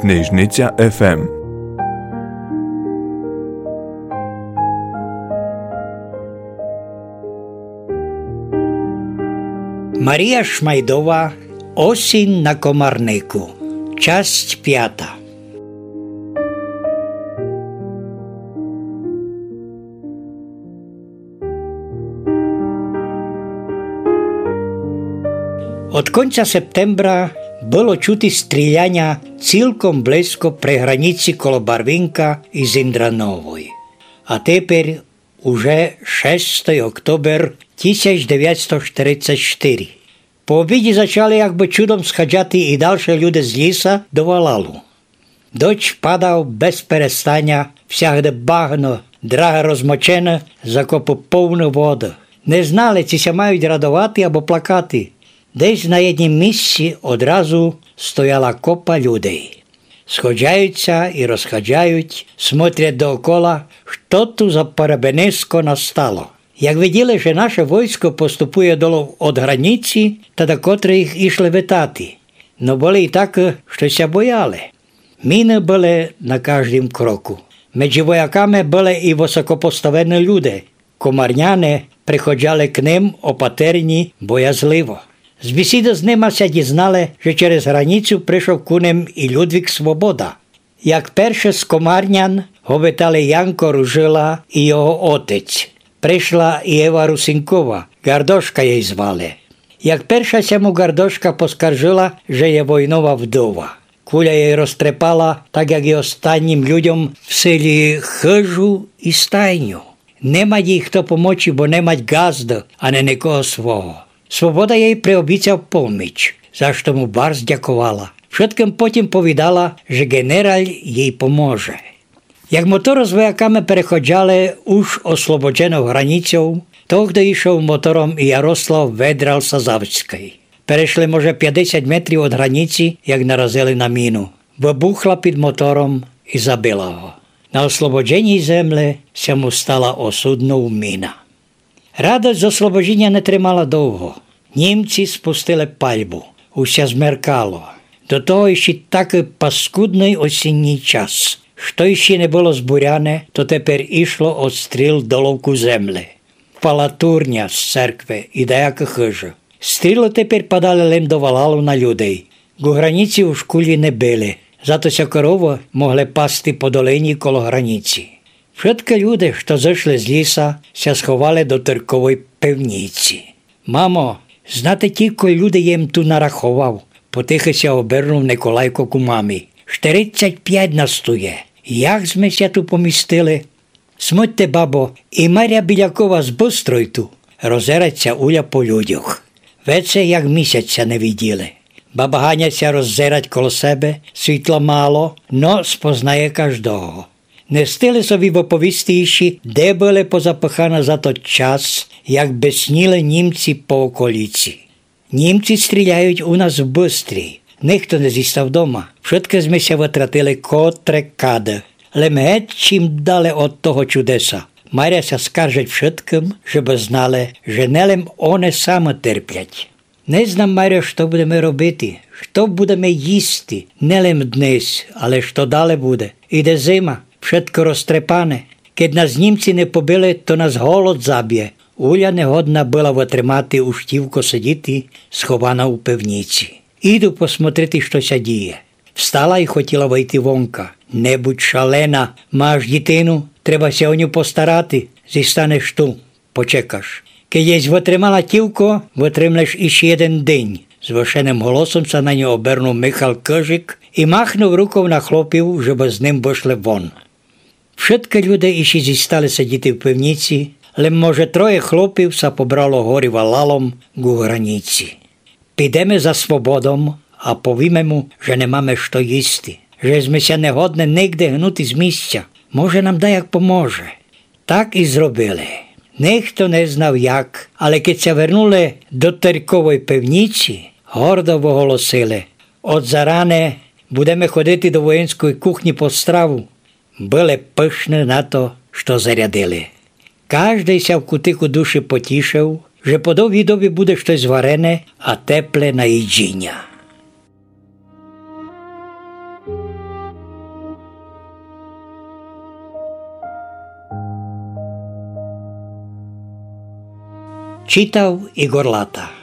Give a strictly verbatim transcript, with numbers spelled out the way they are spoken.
Книжниця еф ем. Марія Шмайдова. Осінь на Комарнику. Часть пята. Од конця септембра было чути стріляня цілком близько при граніці коло Барвінка і Зіндрановой. А теперь уже шестый октобер тисяч девятсто штерицять штыри. По обіді зачали якбы чудом сходжати і дальше люде з ліса до валалу. Дождь падав без перестаня, всягде багно, драги розмочены, закопы повны воды. Не знали, ци ся мають радовати або плакати. Десь на єднім місці одразу стояла копа людей. Сходжають ся і розходжають, смотрять доокола, што ту за перебениско настало. Як виділи, же наше войско поступує долов од граніці, та докотры їх ішли витати. Но были і такы, што ся бояли. Міны были на каждім кроку. Меджі вояками были і высокопоставені люде. Комарняне приходжали к ним опатерні боязливо. З бісіды з нима ся дізнали, же через граніцю пришов ку ним і Людвік Свобода. Як перше з комарнян го витали Янко Ружила і його отець. Пришла і Ева Русинкова, Гардошка єй звали. Як перша ся му Гардошка поскаржыла, же є войнова вдова. Куля єй розтрепала, так як і останнім людьом в селі, хыжу і стайню. Не мать їй хто помочи, бо не мать ґазды, ани никого свого. Свобода єй приобіцяв поміч, за што му барз дяковала. Вшыткым потім повідала, же ґенераль єй поможе. Як моторы з вояками переходжали уж ослободжену граніцю, тогды ішов мотором і Ярослав Ведрал Сазавськый. Перешли, може, пятдесят метрів од граніці, як наразили на міну. Выбухла під мотором і забила го. На ослободженій землі ся му стала осуднов міна. Радость з ослободженя не тримала довго. Німці спустили пальбу. Уж ся змеркало. До того іщи такый паскудный осінній час. Што іщи не было збуряне, то теперь ішло од стріл долов ку землі. Пала турня з церкви і даяка хыжа. Стрілы теперь падали лем до валалу на людей. Ку граніці уж кулі не били, зато ся коровы могли пасти по долині коло граніці. Вшыткы люде, што зышли з ліса, ся сховали до Тырковой пивніці. Мамо, знате, тілько люде єм ту нараховав, потихы ся обернув Николайко ку мамі. Штерицять пять нас ту є. Як зме ся ту помістили? Смотьте, бабо, і Маря Білякова з Быстрой ту. Роззерать ся Уля по людьох. Веце як місяць ся не виділи. Баба Ганя ся роззерать коло себе, світла мало, но спознає каждого. Не встигли собі выповісти іщи, де были позапыханы за тот час, як бесніли німці по околіці. Німці стріляють у нас в Быстрій. Нихто не зістав дома. Вшыткы зме ся вытратили котре кады. Лем геть чим дале од того чудеса. Маря ся скаржить вшыткым, жебы знали, же не лем они самы терплять. Не знам, Марьо, што будеме робити, што будеме їсти, не лем днесь, але што дале буде. Іде зима, вшытко розтрепане. Кед нас німці не побили, то нас голод забє. Уля не годна была вытримати, уж тілько сидіти схована у пивніці. Іду посмотрити, што ся діє. Встала і хотіла выйти вонка. Не будь шалена, маш дітину, треба ся о ню постарати, зістанеш ту, почекаш. Кед єсь вытримала тілько, вытримлеш іщи єден день, звышеным голосом ся на ню обернув Михал Кыжик і махнув руков на хлопів, жебы з ним вышли вон. Вшыткы люде іщи зістали сидіти в пивніці, лем, може, троє хлопів ся побрало горі валалом ку граніці. Підеме за Свободом а повіме му, же не маме што їсти, же зме ся не годни нигде гнути з місця. Може, нам даяк поможе. Так і зробили. Нихто не знав як, але кед ся вернули до Тырковой пивніці, гордо выголосили: Од заране будеме ходити до воєнськой кухні по страву. Были пышны на то, што зарядили. Каждый ся в кутику души потішыв, же по довгій добі буде штось варене а тепле на їдзіня. Читав Игор Лата.